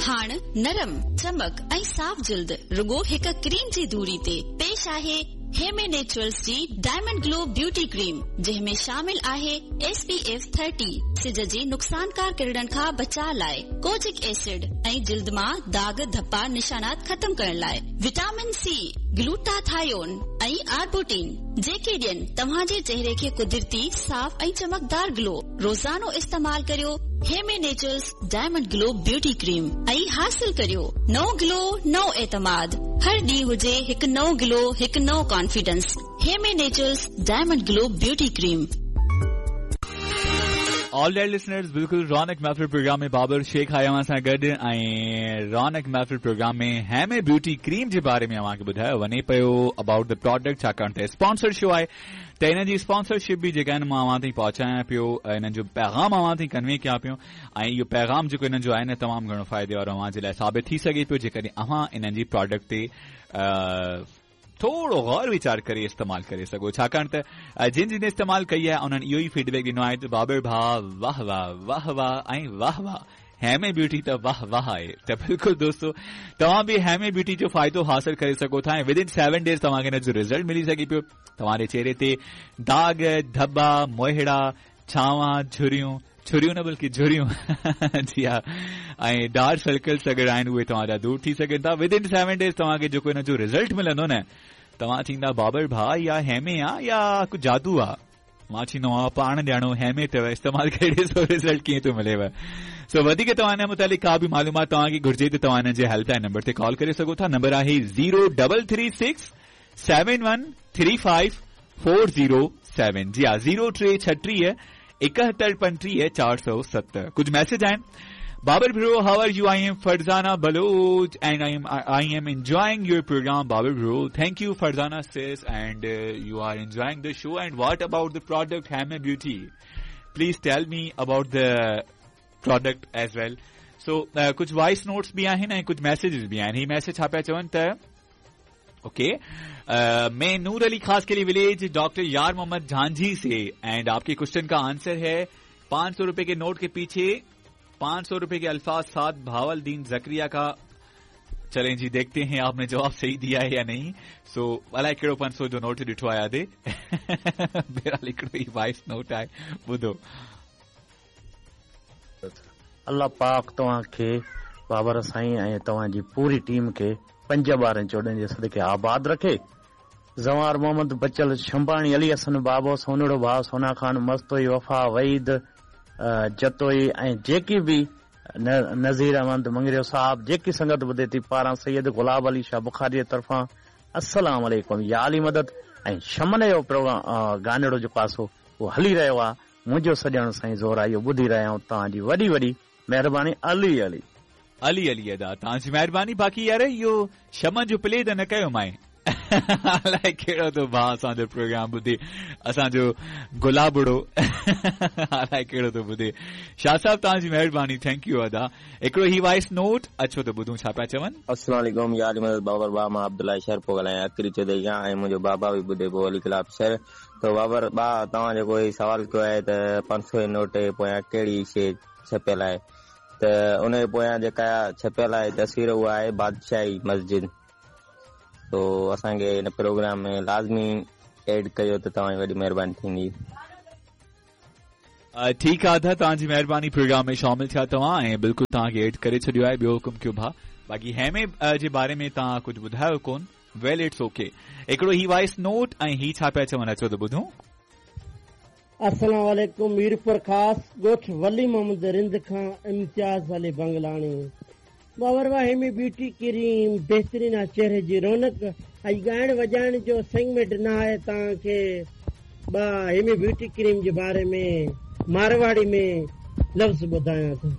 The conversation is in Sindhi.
هاڻ نرم، چمڪ ۽ صاف جلد رڳو هڪ ڪريم جي دوري تي. پيش آهي هيمي نيچرلز جي ڊائمنڊ گلو بيوٽي ڪريم جنهن ۾ شامل آهي ايس پي ايف 30 سج جي نقصانڪار ڪرڻن کان بچاء لاء ڪوجڪ ايسڊ ۽ جلد مان داغ ڌپا نشانات ختم ڪرڻ لاء وٽامن سي، گلوٽاٿايون ۽ آربوٽين جيڪي ڏين توهان جي چهري کي قدرتي صاف ۽ چمڪدار گلو. روزانو استعمال ڪريو Hemi Naturals diamond glow beauty cream ۽ حاصل ڪريو نئون گلو نئون اعتماد هر ڏينهن هجي هڪ نئون گلو هڪ نئون confidence Hemi Naturals diamond glow beauty cream. All right listeners بلڪل رونق محفل پروگرام ۾ بابر شيخ آهي اوهان سان گڏ ۽ رونق محفل پروگرام ۾ هيمي بيوٽي ڪريم جي باري ۾ اوهان کي ٻڌايو وڃي پيو ابائوٽ the product ڇاڪاڻ ته اسپانسر شو آهي ته انهن جي اسپانسرشپ به جيڪا آهن مان اوهان تائين پهچايان پيو انهن جو پيغام اوهان تائين ڪنوي ڪيان پيو ۽ اهو پيغام جيڪو انهن جو آهي نه تمام گهڻو فائدي وارو اوهان جي لاء ثابت ٿي سگهي پيو جيڪڏهن اوهان انهن جي پراڊڪٽ تي ٿورو غور ويچار ڪري استعمال ڪري سگهو ڇاڪاڻ ته جن جن استعمال ڪئي آهي انهن اهو ئي فيڊبيڪ ڏنو آهي ته بابر ڀاء واهه واهه واهه واهه ۽ واهه واهه هيمي بيوٽي ته واهه واهه آهي ته بلڪل دوستو توهان به هيمي بيوٽي جو فائدو حاصل ڪري سگهو ٿا ۽ ود ان 7 ڊيز توهان کي ان جو رزلٽ ملي سگهي پيو توهان جي چهري تي داغ ڌٻا موهڙا ڇاوان جهريون ڇريون نه بلڪه جهريون جي ها ۽ ڊارڪ سرڪلس اگر آهن اهي توهان جا دور ٿي سگهن ٿا ود ان 7 ڊيز توهان کي جيڪو ان جو رزلٽ ملندو نه توهان چئيندا بابر ڀاء يا هيمي آ يا ڪو جادو آ مان چوندو آهيان پاڻ ڄاڻو هيمي اٿو استعمال ڪري ڏسو رزلٽ ڪيئن ٿو مليو سو وڌيڪ توهان ان متعلق ڪا به معلومات توهان کي گهرجي ته توهان انهن جي هيلپ لائن نمبر تي ڪال ڪري سگهو ٿا نمبر آهي 0336 7135 407 جي ها 0336 71 35 407 ڪجهه ميسيج آهن Babar bro, how are you? I am Farzana Baloch and I am enjoying your program Babar bro. Thank you Farzana sis and you are enjoying the show and what about the product Heme Beauty? Please tell me about the product as well. So ڪجهه وائس نوٽس به آهن ۽ ڪجهه ميسيجز به آهن هي ميسيج ڇا پيا چون ته اوڪي मैं नूर अली खास के लिए विलेज डॉक्टर यार मोहम्मद झांझी से एंड आपके क्वेश्चन का आंसर है 500 रुपए के नोट के पीछे 500 रुपए के अल्फाज साथ भावल दीन जकरिया का चलें जी देखते हैं आपने जवाब सही दिया है या नहीं सो अलाए कहिड़ो 500 जो नोट ॾिठो आहे यादे बहरहाल हिकिड़ो ई वॉइस नोट आहे ॿुधो الله پاڪ توهان کي بابر سائين ۽ توهان جي پوري ٽيم کي 5 12 14 جي صدقي آباد رکي. زوار محمد بچل شنباڻي علي حسن بابو سونڙو ڀاء سونا خان مستوئي وفا وحيد جتوئي ۽ جيڪي به نذير احمد مڱريو صاحب جيڪي سنگت ٻڌي ٿي پاران سيد گلاب علي شاهه بخاري جي طرفان السلام عليڪم يا علي مدد ۽ شمن جو پروگرام گانڙو جيڪو آ سو اهو هلي رهيو آ منهنجو سڄڻ سائين زورائي اهو ٻڌي رهيا آهيون توهان جي وڏي وڏي مهرباني علي علي. علي علي ادا توهان جي مهرباني باقي يار اهو شمن جو پلي ته نه ڪيو مائي الائي ڪهڙو ٿو ڀاء اسان جو پروگرام ٻڌي اسان جو گلابڙو الائي ڪهڙو ٿو ٻڌي شاهه صاحب توهان جي مهرباني thank you ادا هڪڙو هي وائس نوٽ اچو ته ٻڌون ڇا پيا چون. السلام عليڪم يا علي مدد بابر ڀاء مان عبدالله شر پيو ڳالهايان اڪري چوڌري کان ۽ منهنجو بابا به ٻڌي پيو علي گلاب شر ته بابر ڀاء توهان جيڪو هي سوال ڪيو آهي ته 500 جي نوٽ جي پويان ڪهڙي شيء ڇپيل آهي ته ان جي پويان جيڪا ڇپيل آهي تصوير اها آهي بادشاهي مسجد تو اسان کي هن پروگرام ۾ لازمي ايڊ ڪيو ته توهان جي وڏي مهرباني ٿيندي. ٺيڪ آ ادا توهان جي مهرباني پروگرام ۾ شامل ٿيا توهان ۽ بلڪل توهان کي ايڊ ڪري ڇڏيو آهي ٻيو حڪم ڪيو ڀاء باقي هيمي جي باري ۾ توهان ڪجهه ٻڌايو ڪون ويل it's okay هڪڙو هي وائس نوٽ ۽ هي ڇا پيا چون اچو ته ٻڌون. السلام عليڪم ميرپورخاص ڳوٺ ولي محمد رند کان امتياز علي بنگلاڻي بابر ڀاء هيمي بيوٽي ڪريم بهترين آ چهري جي رونق ۽ ڳائڻ وڄائڻ جو سيگمينٽ نه آهي توهان کي ٻه هيمي بيوٽي ڪريم جي باري ۾ مارواڙي ۾ لفظ ٻڌايان ٿو.